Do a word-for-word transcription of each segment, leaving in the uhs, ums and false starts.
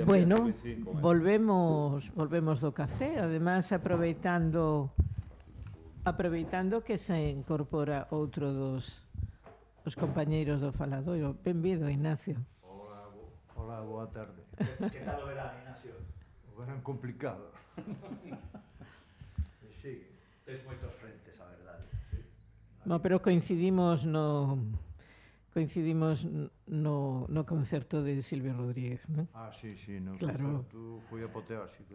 Bueno, volvemos volvemos do café, además aproveitando aproveitando que se incorpora outro dos os compañeiros do faladoiro. Benvido, Ignacio. Hola, bo, hola, boa tarde. Que tal o verán, Ignacio? O verán complicado. Sí, tes moitos frentes, a verdade. No, pero coincidimos no coincidimos no, no concerto de Silvio Rodríguez, non? Ah, sí, sí, no Claro. concerto foi apoteósico.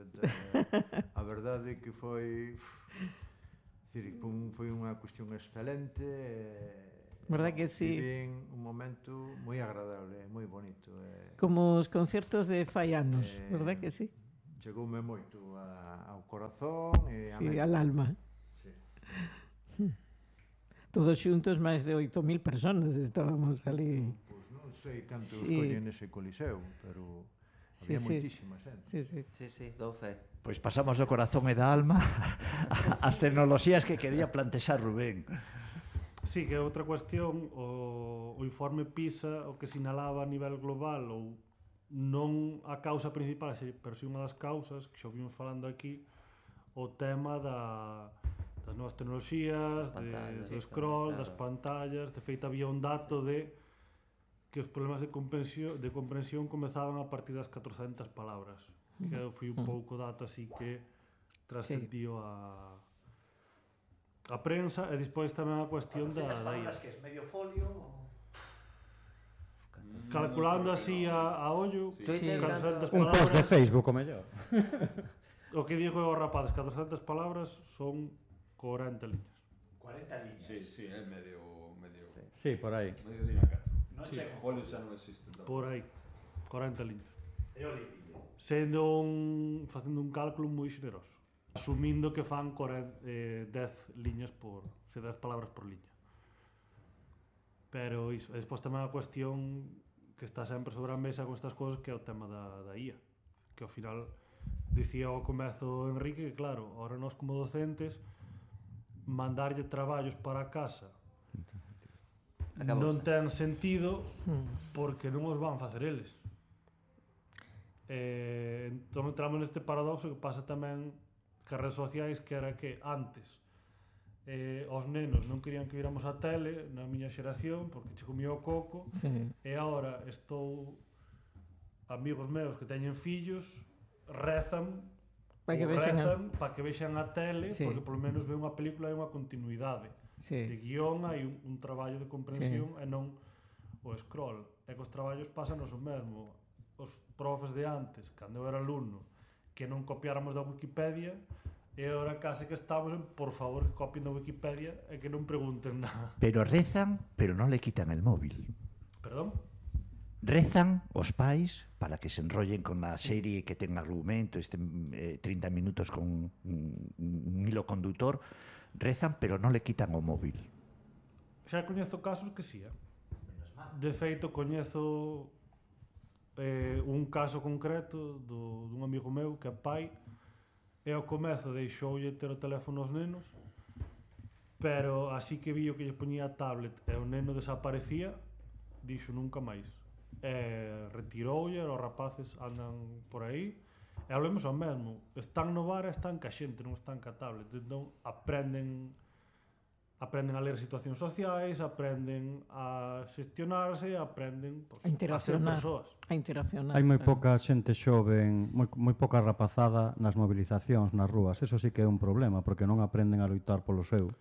A verdade é que foi... Dicir, foi unha cuestión excelente. Verdad que sí? Vivín un momento moi agradable, moi bonito. Como os concertos de fai anos, eh, verdad que sí? Chegoume moito a, ao corazón e a sí, al alma. Sí. Todos xuntos máis de oito mil personas estábamos ali. Pois non sei cantos sí. collen ese coliseo, pero había sí, moitísima xente. Sí, sí. Sí, sí, dou fe. Pois pasamos do corazón e da alma ás tecnoloxías que quería plantexar Rubén. Sí, que é outra cuestión, o, o informe PISA o que sinalaba a nivel global, ou non a causa principal, pero si unha das causas, que xa vimos falando aquí, o tema da... das novas tecnoloxías, de, do scroll, claro. Das pantallas. De feito, había un dato de que os problemas de comprensión, de comprensión comezaban a partir das catrocentas palabras, que foi un pouco dato así que trascendió sí. a a prensa, e despois tamén a cuestión da... catrocentas palabras que é medio folio... Calculando así a, a ollo, sí. catrocentas un palabras... post de Facebook, o mellor. O que digo eu, rapaz, catrocentas palabras son corenta liñas. corenta liñas? Sí, sí, é medio... medio sí. sí, por aí. Medio dina catro. Non sí. chego. Folio xa non existe. Tampoco. Por aí, corenta liñas. É o límite. Sendo un... facendo un cálculo moi xeneroso. Asumindo que fan corenta, eh, dez liñas por... se dez palabras por liña. Pero iso, e despois tamén a cuestión que está sempre sobre a mesa con estas cousas, que é o tema da, da I A. Que ao final, dicía ao comezo Enrique, que claro, ahora nós como docentes, mandarlle traballos para casa Acabou non ten sentido porque non os van facer eles. Eh, entón entramos neste paradoxo que pasa tamén que as redes sociais, que era que antes eh, os nenos non querían que viramos a tele na miña xeración porque che comía o coco, sí. E agora estou amigos meus que teñen fillos rezan para que vexan a... para que vexan a tele, sí. Porque polo menos ve unha película e unha continuidade, sí. De guión, hai un, un traballo de comprensión, sí. E non o scroll. E cos traballos pásanos o mesmo. Os profes de antes, cando eu era alumno, que non copiáramos da Wikipedia, e agora case que estamos en, por favor, que copien da Wikipedia e que non pregunten nada. Pero rezan, pero non le quitan el móvil. Perdón? Rezan os pais para que se enrollen con a serie que ten argumento, este eh, trinta minutos con un, un hilo conductor. Rezan, pero non le quitan o móvil. Xa coñezo casos que sí, eh? De feito, coñezo eh, un caso concreto do, dun amigo meu que é pai, e ao comezo deixoulle ter o teléfono aos nenos, pero así que vi o que lle poñía a tablet e o neno desaparecía, dixo nunca máis. E retiroulle, os rapaces andan por aí, e hablemos ao mesmo, están no bar e están ca xente, non están ca tablet, entón aprenden aprenden a ler situacións sociais, aprenden a xestionarse, aprenden pues, a interaccionar, a ser persoas. A interaccionar. Hai moi pouca xente xoven, moi, moi pouca rapazada nas movilizacións, nas rúas. Eso sí que é un problema, porque non aprenden a loitar polo seu.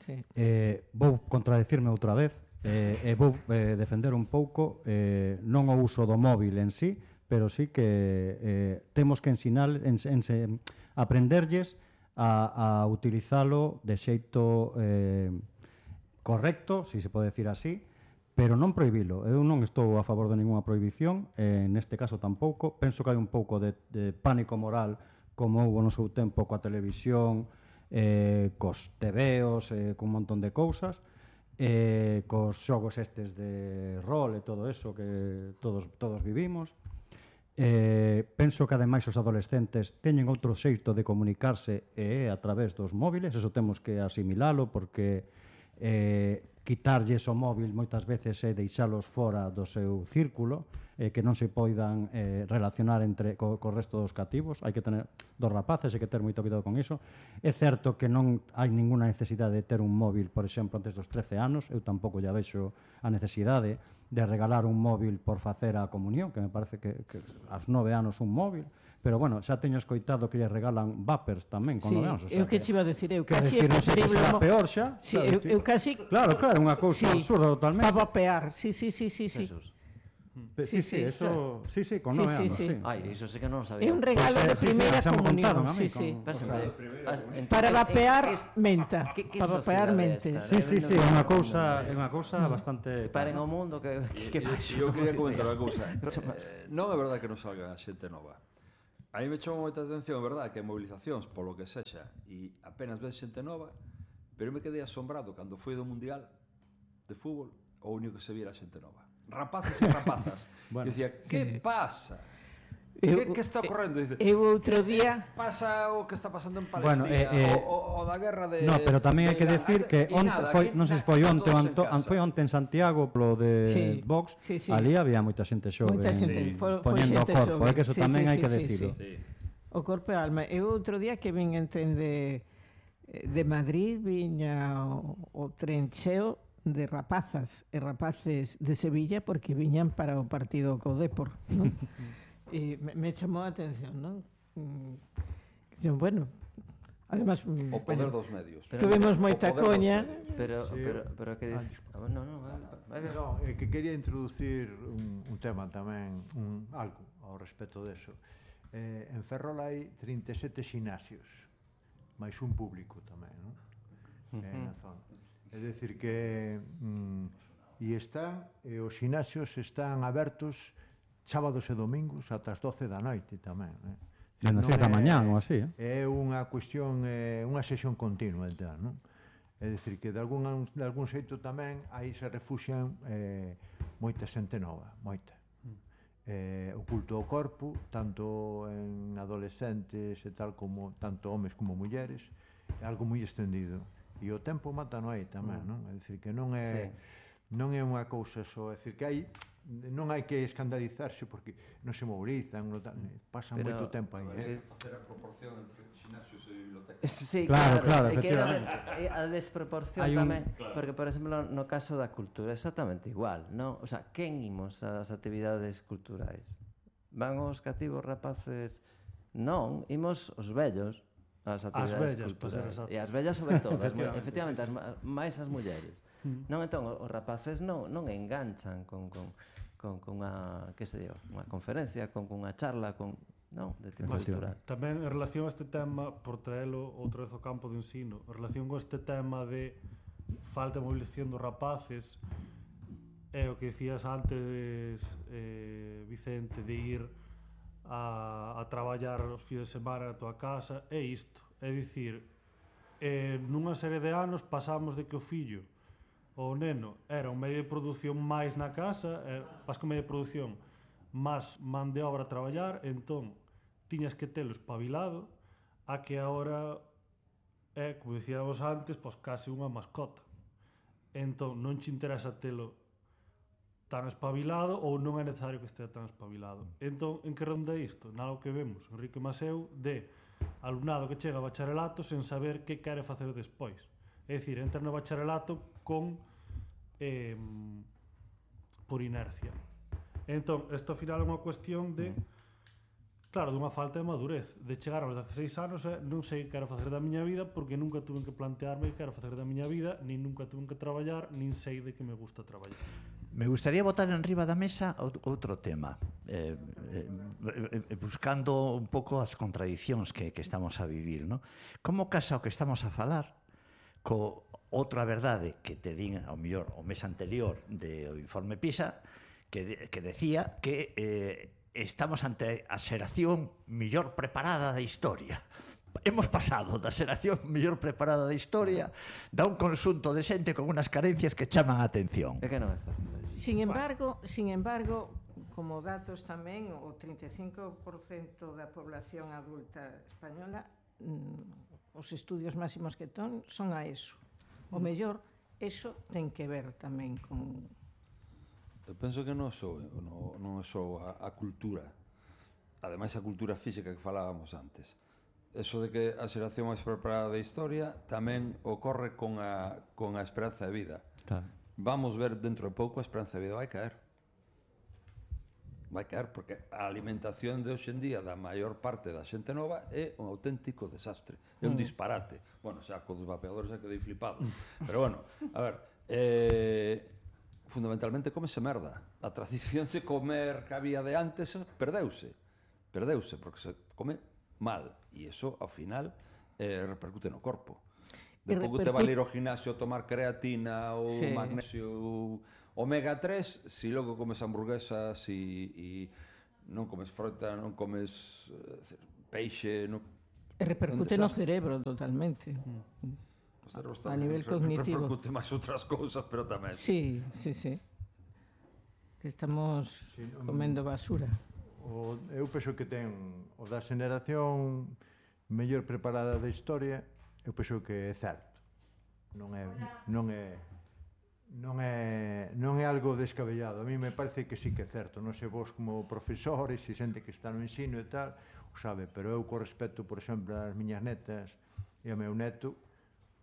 Sí. Eh, vou contradecirme outra vez, eh, e vou eh, defender un pouco eh, non o uso do móvil en sí, pero sí que eh, temos que ensinar, en, en, aprenderlles a, a utilizalo de xeito eh, correcto, si se pode decir así, pero non prohibilo. Eu non estou a favor de ninguna prohibición, eh, neste caso tampouco. Penso que hai un pouco de, de pánico moral, como houve no seu tempo coa televisión, eh, cos tebeos, eh, con un montón de cousas, eh, cos xogos estes de rol e todo eso que todos, todos vivimos. Eh, penso que ademais os adolescentes teñen outro xeito de comunicarse e é a través dos móviles, eso temos que asimilalo porque eh, quitarlles o móvil moitas veces é deixalos fora do seu círculo, eh, que non se poidan eh, relacionar entre co, co resto dos cativos. Hai que tener dos rapaces, hai que ter moito cuidado con iso. É certo que non hai ninguna necesidade de ter un móvil, por exemplo, antes dos trece anos. Eu tampouco ya vexo a necesidade de regalar un móvil por facer a comunión, que me parece que, que aos nove anos un móvil. Pero, bueno, xa teño escoitado que lle regalan vapers tamén con Sí, nove anos. O sea, eu que che iba a decir, eu que casi decir, é non sei que preferible será mo- peor xa. Sí, xa eu, decir. eu casi Claro, claro, unha cousa Sí. absurda totalmente. para vapear, sí, sí, sí, sí, sí. Jesús. Pe- Sí, Sí, sí, sí, eso, sí, sí, con Sí, nove sí, anos, sí. sí. Ai, iso sí que non o sabía. É un regalo Pues, de eh, sí, sí, primeira xa me contaron comunión, a mí sí, sí. con- Pero, o sea, as- entón, Para en- en- vapear que es- menta, que- que para vapear sociedade mente. esta, Sí, eh? sí, Non sí, é sei unha como- cousa, é unha cousa bastante Que paren o mundo, que... que E eu quería comentar unha cousa. Eh, non é verdade que non salga a xente nova. A mí me chama moita atención, é verdade, que movilizacións, polo que sexa, e apenas ves xente nova, pero eu me quedei asombrado cando foi do Mundial de fútbol, o único que se viera xente nova. Rapaces e rapazas. Bueno, E dicía, que pasa? Eu- Que, que está ocorrendo? Dice, Eu outro día pasa o que está pasando en Bueno, Palestina, eh, eh, o, o, o da guerra de... No, pero tamén hai que de decir Irán. que E onte nada, foi, aquí non sei se na- foi están onte, todos en onte, casa. foi onte en Santiago polo de Sí, Vox, sí, sí. ali había moita xente xove, Moita xente, en- foi- foi poñendo o xente corpo, xove. é que eso Sí, tamén sí, hai sí, que sí, decirlo. Sí. o corpo e a alma. Eu outro día que vin en tren de, de Madrid, viña o, o tren cheo de rapazas e rapaces de Sevilla porque viñan para o partido co Depor, non? E me, me chamou a atención, non? Mm, que, bueno, además, mm, O poder dos medios. Pero- tuvimos O moita poder dos coña. medios. Pero, Sí, pero, eu- pero que Ah, dices... Ah, no, no, vai, vai, vai. No, é que quería introducir un, un tema tamén, un, algo ao respecto deso. Eh, en Ferrol hai trinta e sete xinasios, máis un público tamén, non? Eh, na zona. É dicir que mm, e están, e os xinasios están abertos sábados e domingos ata as doce da noite tamén, eh? Dende as Non seis da é- mañán ou así, É eh? unha cuestión, eh, unha sesión continua, tal, non? É dicir que de algún, de algún xeito tamén aí se refuxian eh, moita xente nova, moita. Eh, o culto ao corpo, tanto en adolescentes e tal como tanto homes como mulleres, é algo moi extendido. E o tempo mata no aí tamén, non? É dicir que non é non é unha cousa só, é dicir que hai non hai que escandalizarse porque non se mobilizan, non tal, pasan Pero- moito tempo aí, eh? Facer a proporción entre xinasios e bibliotecas. Sí, Claro, claro, é que era efectivamente. de- é a desproporción Hai un- tamén, porque, por exemplo, no caso da cultura, é exactamente igual, non? O sea, quen imos ás actividades culturais? Van os cativos rapaces? Non, imos os vellos ás actividades vellas, para ser culturais. exactos. E as vellas sobre todo, as mu- Efectivamente, efectivamente, as, ma- máis as mulleres. Non, entón, os rapaces non, non enganchan con, con, con, con unha, que sei eu, unha conferencia, con, con unha charla, con, non, de tipo Mas cultural. tamén en relación a este tema, por traelo outra vez ao campo de ensino, en relación con este tema de falta de movilización dos rapaces, é o que dicías antes, eh, Vicente, de ir a, a traballar os fines de semana na tua casa, é isto, é dicir, eh, nunha serie de anos pasamos de que o fillo o neno era un medio de produción máis na casa, eh, vas con medio de produción máis man de obra a traballar, entón tiñas que telo espabilado a que agora é, como dicíamos antes, pois case unha mascota. Entón non che interesa telo tan espabilado ou non é necesario que estea tan espabilado. Entón, en que ronda isto? Nalgo que vemos, Enrique Maseu, de alumnado que chega a bacharelato sen saber que quere facer despois. É dicir, entra no bacharelato con eh, por inercia. Entón, isto ao final é unha cuestión de claro, dunha falta de madurez, de chegar aos dezasseis anos e non sei que quero facer da miña vida porque nunca tuve que plantearme que quero facer da miña vida, nin nunca tuve que traballar, nin sei de que me gusta traballar. Me gustaría botar en riba da mesa out- outro tema, eh, eh, eh, buscando un pouco as contradicións que, que estamos a vivir, ¿no? Como casa o que estamos a falar co outra verdade que te din ao mellor o mes anterior do informe PISA que, de, que decía que eh, estamos ante a xeración mellor preparada da historia. Hemos pasado da xeración mellor preparada da historia da un conxunto de xente con unas carencias que chaman a atención. É que non é certo. Sin embargo, sin embargo, como datos tamén, o trinta e cinco por cento da población adulta española, mm, os estudios máximos que ton son a ESO. O mellor eso ten que ver tamén con... Eu penso que non só, non, non é só a, a cultura, ademais a cultura física que falábamos antes. Eso de que a xeración máis preparada da historia tamén ocorre con a, con a esperanza de vida. Claro. Vamos ver dentro de pouco a esperanza de vida vai caer. Vai caer porque a alimentación de hoxe en día da maior parte da xente nova é un auténtico desastre, é un disparate. Bueno, xa con os vapeadores xa quedei flipado. Pero bueno, a ver, eh, fundamentalmente comese merda. A tradición de comer que había de antes perdeuse. Perdeuse porque se come mal e iso ao final eh, repercute no corpo. De pouco te vale ir ao gimnasio tomar creatina ou sí. magnesio ou omega tres, si logo comes hamburguesas e, e non comes fruta, non comes uh, peixe, non... E repercute no cerebro totalmente. Mm. O cerebro está a nivel re, cognitivo. Repercute máis outras cousas, pero tamén. Sí, sí, sí. Que estamos sí, um, comendo basura. O, eu penso que ten o da xeneración mellor preparada da historia, eu penso que é certo. Non é... Non é non é non é algo descabellado. A mí me parece que sí que é certo. Non sei vos como profesores, se xente que está no ensino e tal, o sabe, pero eu co respecto, por exemplo, ás miñas netas e ao meu neto,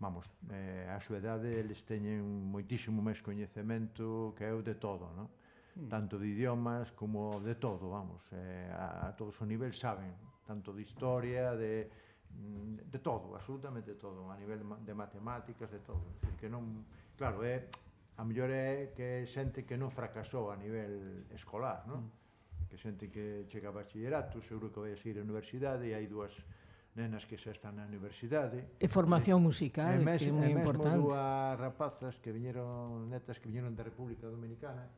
vamos, eh, a súa idade eles teñen moitísimo máis coñecemento que eu de todo, non? Mm. Tanto de idiomas como de todo, vamos, eh, a, a todos os niveis saben, tanto de historia, de de todo, absolutamente todo, a nivel de matemáticas, de todo. É dicir, que non, claro, é a mellor é que xente que non fracasou a nivel escolar, non? Mm. Que xente que chega a bachillerato, seguro que vai a seguir a universidade e hai dúas nenas que xa están na universidade. E formación musical, e mes, que é moi importante. E mesmo dúas rapazas que viñeron, netas que viñeron da República Dominicana,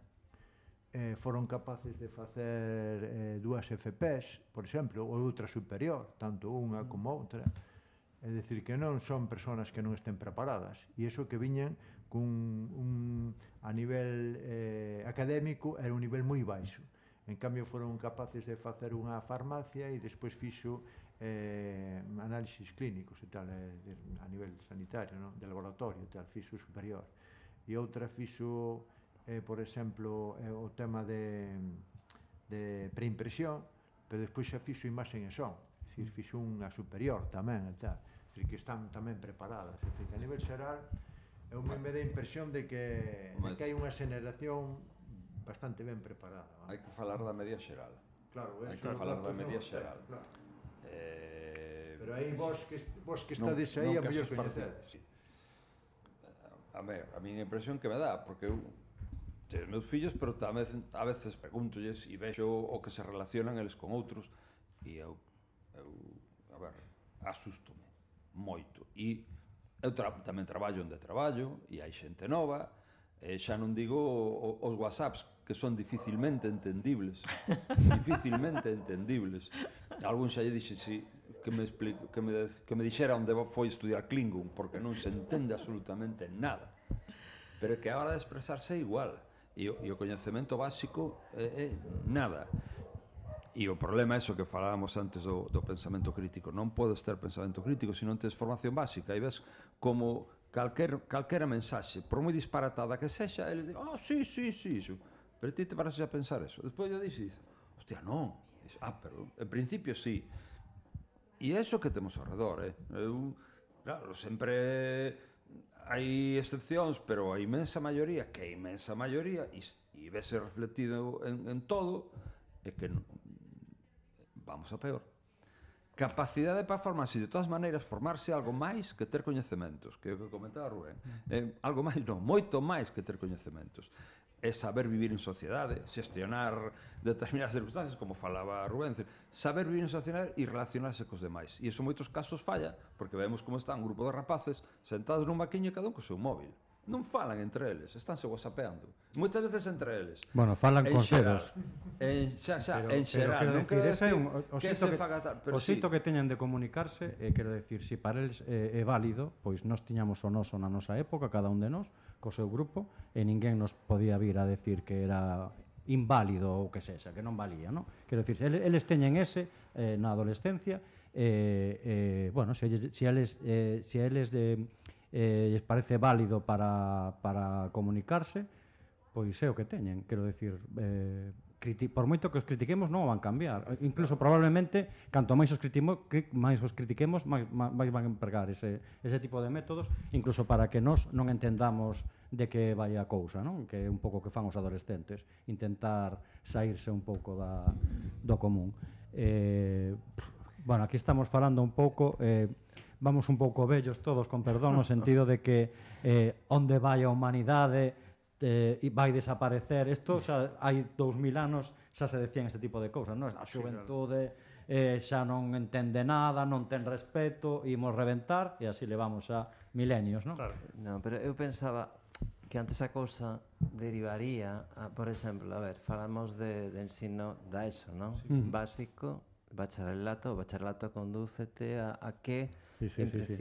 eh, foron capaces de facer eh, dúas F Ps, por exemplo, ou outra superior, tanto unha como outra. É dicir, que non son persoas que non estén preparadas. E iso que viñan cun, un, a nivel eh, académico era un nivel moi baixo. En cambio, foron capaces de facer unha farmacia e despois fixo eh, análisis clínicos e tal, eh, de, a nivel sanitario, non? De laboratorio e tal, fixo superior. E outra fixo, eh, por exemplo, eh, o tema de, de preimpresión, pero despois xa fixo imaxen e son. É dicir, fixo unha superior tamén e tal. É dicir, que están tamén preparadas. É dicir, que a nivel xeral, eu me dá a impresión de que, de que hai unha xeneración bastante ben preparada. ¿Vale? Hai que falar da media xeral. Claro, hai que falar da media xeral. Claro. Eh, Pero aí vos que, vos que estades no, aí a mellor coñecedes. Sí. A ver, a miña impresión que me dá, porque eu teño meus fillos, pero tamén a veces pregúntolles e vexo o que se relacionan eles con outros e eu, eu a ver, asústome moito. E eu tra tamén traballo onde traballo e hai xente nova, e xa non digo o, os whatsapps que son dificilmente entendibles, dificilmente entendibles. Algún xa lle dixe si, que me explico, que me, que me dixera onde foi estudiar Klingon, porque non se entende absolutamente nada. Pero que a hora de expresarse é igual, e o, e o coñecemento básico é, é nada. E o problema é iso que falábamos antes do, do pensamento crítico. Non podes ter pensamento crítico se non tens formación básica. E ves como calquer, calquera mensaxe, por moi disparatada que sexa, eles dicen, ah, oh, sí, sí, sí, iso. Pero ti te paras a pensar eso. Despois yo dixes, hostia, non. Dices, ah, pero en principio sí. E é iso que temos ao redor, eh? Eu, claro, sempre hai excepcións, pero a imensa maioría, que a imensa maioría, e, e vese refletido en, en todo, é que non, vamos a peor. Capacidade para formarse, de todas maneiras, formarse algo máis que ter coñecementos, que é o que comentaba Rubén. Eh, algo máis non, moito máis que ter coñecementos. É saber vivir en sociedade, xestionar determinadas circunstancias, como falaba Rubén, saber vivir en sociedade e relacionarse cos demais. E iso en moitos casos falla, porque vemos como está un grupo de rapaces sentados nun maquiño e cada un co seu móvil. Non falan entre eles, estánse whatsappeando. Moitas veces entre eles. Bueno, falan con cedos. En xa, xa, pero, en xeral, non quero decir, un, o que se faga tal, pero o xeito sí que teñan de comunicarse, eh, quero decir, se si para eles eh, é válido, pois nós tiñamos o noso na nosa época, cada un de nós, co seu grupo, e ninguén nos podía vir a decir que era inválido ou que sexa, que non valía, non? Quero decir, eles teñen ese eh, na adolescencia, eh, eh, bueno, se, se eles, eh, se eles de eh, lles parece válido para, para comunicarse, pois é o que teñen, quero decir, eh, criti por moito que os critiquemos non o van cambiar, incluso probablemente canto máis os, máis os critiquemos máis, máis van empregar ese, ese tipo de métodos, incluso para que nós non entendamos de que vai a cousa, non? Que é un pouco que fan os adolescentes, intentar saírse un pouco da, do común. Eh, bueno, aquí estamos falando un pouco, eh, vamos un pouco vellos todos, con perdón, no sentido de que eh, onde vai a humanidade eh, vai desaparecer. Isto xa hai dous mil anos xa se decían este tipo de cousas, non? A xuventude eh, xa non entende nada, non ten respeto, imos reventar, e así levamos a milenios, non? Claro. Non, pero eu pensaba que antes a cousa derivaría a, por exemplo, a ver, falamos de, de ensino da ESO, non? Sí. Básico, bacharelato, o bacharelato condúcete a, a que sí, sí, en sí, sí.